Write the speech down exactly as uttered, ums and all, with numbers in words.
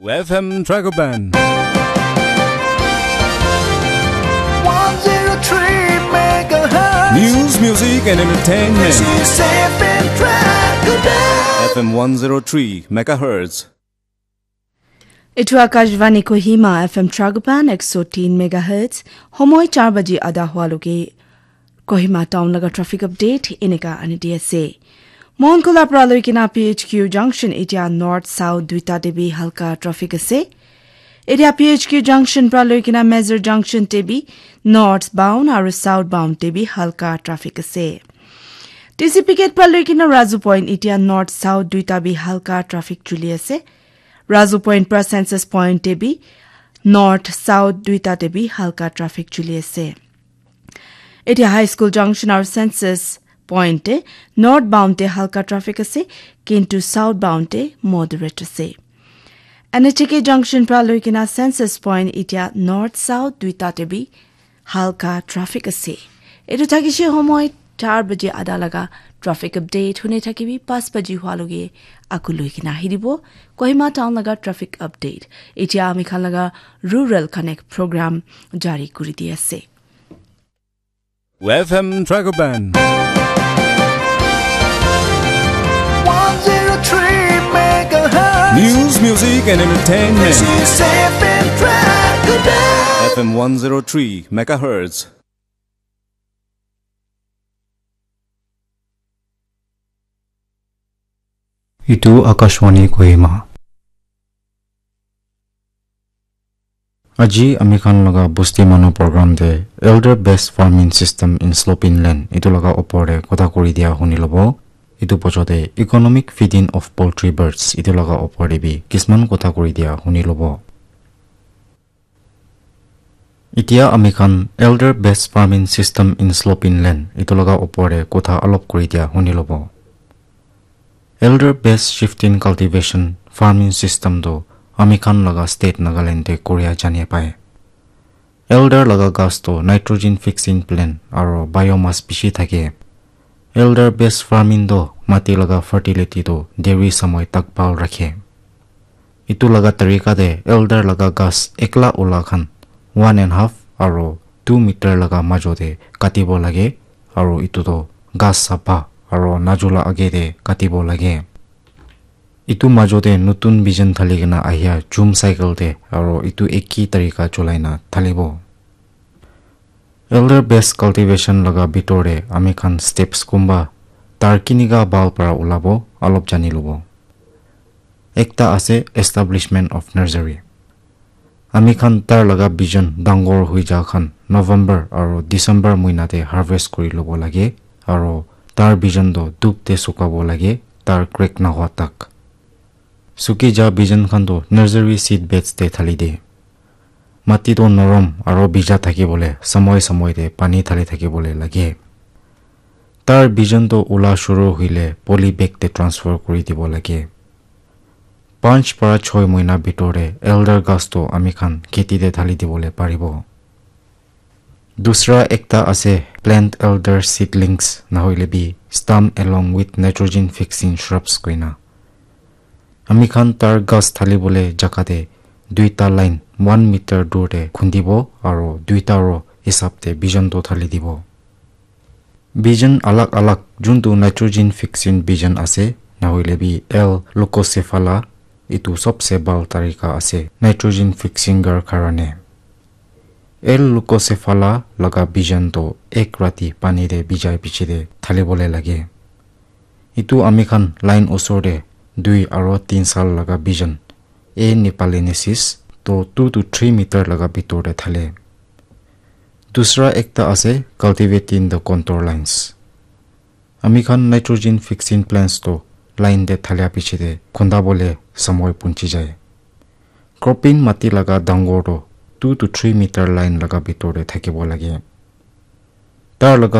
F M Dragoban. One zero three megahertz. News, music, and entertainment. This is F M Dragoban. F M one zero three megahertz. Etu Akashvani Kohima, F M Dragoban, ek so tin megahertz. Homoi char baji ada hua loge Kohima town laga traffic update eneka ani di ase. Monkula pra loi kina P H Q junction etia north south duita te bi halka traffic ase. Etia P H Q junction pra loi kina Major junction te bi north bound aru south bound te bi halka traffic ase. T C P gate pra loi kina Razu point etia north south duita bi halka traffic chuli ase. Razu point pra census point te bi north south duita te bi halka traffic chuli ase. Etia High School Junction aru Census Point te north bound te halka traffic ase, kintu south bound te moderate ase. N H K Junction pra loi kina Census Point etia north south duita te bi halka traffic ase. Etu thakishe homoi char baje ada laga traffic update hune thakibi, pas baji hua loge aku loi kina ahi dibo Kohima town laga traffic update. Etia ami khan laga Rural Connect program jari kuri di ase. F M Dragoban. One zero three megahertz. News, music, and entertainment. This is F M Dragoban. F M one zero three megahertz. Itu Akashvani Kohima. Aji ami khan laga Bosti Manu program te Elder Best Farming System in Sloping Land itu laga opor te kotha kuri dia huni lobo. Itu bochor te Economic Feeding of Poultry Birds itu laga opor te bi kisman kotha kuri dia huni lobo. Itia ami khan Elder Best Farming System in Sloping Land itu laga opor te kotha alop kuri dia huni lobo. Elder Best Shifting Cultivation Farming System tu ami khan laga state Nagaland te koria jani pai. Elder laga ghas tu nitrogen fixing plant aro biomass bishi thake. Elder Best Farming tu mati laga fertility tu deri samoi tak bhal rakhe. Itu laga tarika te elder laga ghas ekla ula khan one and half aro two meter laga majo te katibo lage, aro itu toh ghas sapha aro najula age te katibo lage. Itu majo te nutun bijan thali kena ahia jum cycle te aro itu eki tarika cholai na thalibo. Elder Best Cultivation laga bitor te ami khan steps kumba tar kinika bhal para ulabo alop jani lobo. Ekta ase establishment of nursery. Ami khan tar laga bijan dangor hui ja khan November aro December muina te harvest kuri lobo lage, aro tar bijan toh dup te sukabo lage, tar crack nahwa tak. Suki ja bijan khan toh nursery seed beds te thali de. Mati toh norom aro bija thaki bole samoi samoi te pani thali thaki bole lage. Tar bijan toh ula shuru huile poly bag te transfer kuri dibo lage. Panch para choi moina bitor te elder ghas toh ami khan kheti te thali dibole paribo. Dusra ekta ase plant elder seedlings nahoile bi stem along with nitrogen fixing shrubs koina. Ami khan tar ghas thali bole jaga te duita line one meter dur te khundibo aro duita row hisab te bijan toh thali dibo. Bijan alag alag juntu nitrogen fixing bijan ase, nahoile bi L leucocephala, itu sobse bhal tarika ase nitrogen fixing gar karane. L leucocephala laga bijan toh ek rati pani te bijai piche te thali bole lage. Itu ami khan line osor te dui aro tin sal laga bijan, A nepalensis, toh two to three meter laga bitor te thale. Dusra ekta ase cultivating the contour lines. Ami khan nitrogen fixing plants toh line te thalia piche te khunda bole samoi punchi jai. Cropping mati laga dangor toh two to three meter line laga bitor te thakibo lage. Tar laga